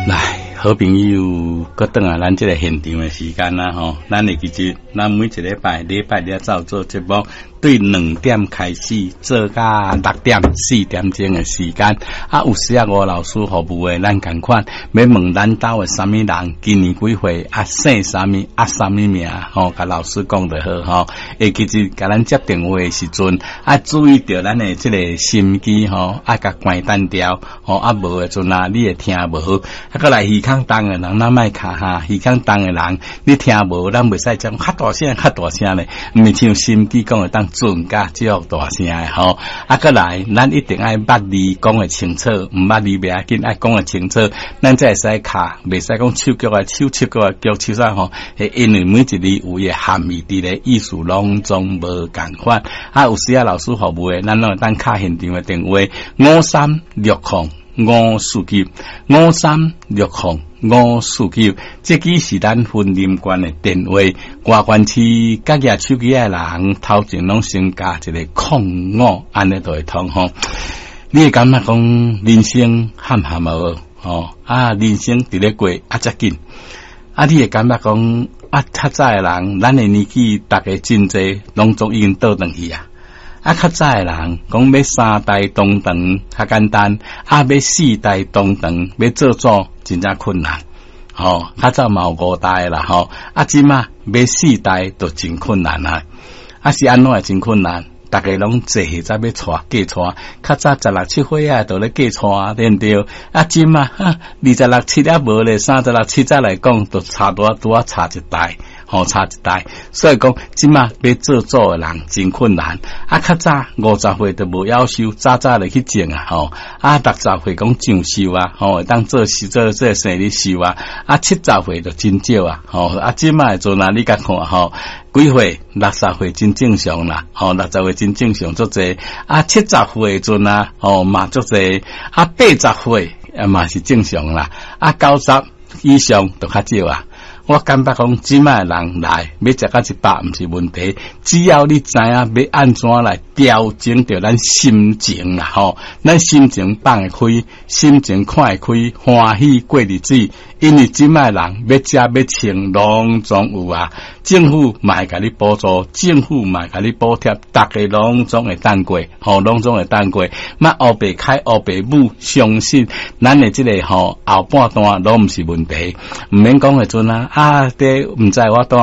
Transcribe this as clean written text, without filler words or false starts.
來，好朋友，閣轉來咱這个現場的時間啦吼，咱會記住，咱每一禮拜禮拜日走做節目，對2點開始做到6點4點鐘的時間。啊，有時啊，吳老師服務的，咱仝款欲問咱兜的啥物人，今年幾歲，啊，姓啥物，啊，啥物名，吼，共老師講就好吼。會記住，共咱接電話的時陣，啊，注意著咱的這个心機吼，啊，共關單掉，吼，啊，無的陣啊，你會聽無好。啊，閣來耳孔重的人，咱莫卡哈，耳孔重的人，你聽無，咱袂使講較大聲，較大聲咧，毋是像心機講會當準甲這大聲的吼。啊，閣來，咱一定愛捌字講會清楚，毋捌字袂要緊，愛講會清楚，咱才會使敲，袂使講手腳來手，手腳來腳，手啥吼？因為每一字有伊的含義佇咧，意思攏總無仝款。啊，有時啊，老師服務的，咱攏會當敲現場的電話5360549 5360549，這支是咱雲林縣的電話。外縣市佮舉手機的人，頭前攏先加一个空五，按呢就會通吼。你會感覺講人生坎坎無吼？啊，人生佇咧過啊，遮緊。啊，你會感覺講啊，較早的人，咱的年紀，逐家真濟，攏總已經倒轉去啊。啊，較早的人講欲三代同堂較簡單，啊，欲四代同堂欲做祖真正困難。吼，較早嘛有五代啦，吼，啊，這馬欲四代都真困難啊。啊，是按怎會真困難？逐家攏濟歲才欲娶嫁娶，較早十六七歲啊，就咧嫁娶，對毋對？啊，這馬二十六七也無咧，三十六七才來講，就差拄仔拄仔差一代。吼，差一代，所以講，這馬欲做祖的人真困難。啊，較早50歲就無夭壽，早早就去種啊，吼。啊，60歲講上壽啊，吼，會當做事做做生日壽啊。啊，70歲就真少啊，吼。啊，這馬的陣啊，你共看吼，幾歲？60歲真正常啦，吼，60歲真正常足濟。啊，70歲的陣啊，吼嘛足濟。啊，80歲啊嘛是正常啦。啊，90以上就較少啊。我感覺講，這馬的人來欲食到100，毋是問題，只要你知影欲按怎來調整著咱心情啦，吼，咱心情放會開，心情看會開，歡喜過日子。因為這馬的人欲食欲穿，攏總有啊。政府嘛會共你補助，政府嘛會共你補貼，逐家攏總會當過，吼，攏總會當過。莫烏白開烏白舞，相信咱的這个吼後半段攏毋是問題。毋免講的陣啊，啊，這毋知我當。